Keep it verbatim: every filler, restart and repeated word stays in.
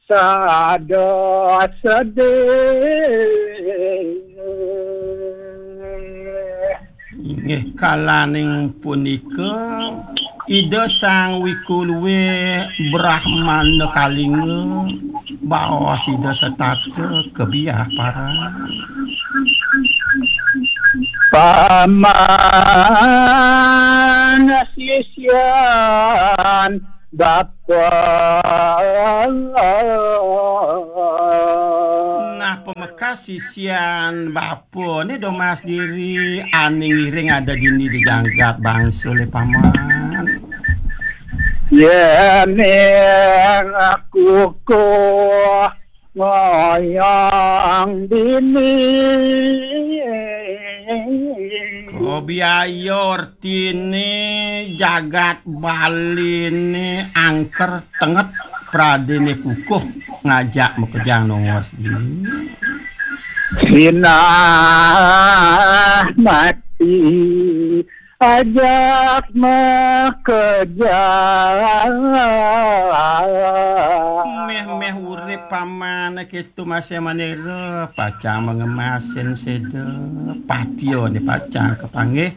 sada sedih. Inggih kalaning punika Ida Sang Wikuluwe Brahmana Kalinga baos Ida setata kebiah parang. Paman sisian bapa. Nah, pamekas sisian bapa ni domas diri aning iring ada dini di jagat bangsa le paman. Yening aku ko ngoyong dini. Kobiaya ortine jagat Baline angker tenget pradene kukuh ngajak makejang nongos dini. Sinah mati ajak makejang. Meh-meh urip paman ketu masih manira pacang mangemasin seda. Patio ni pacang kepanggih.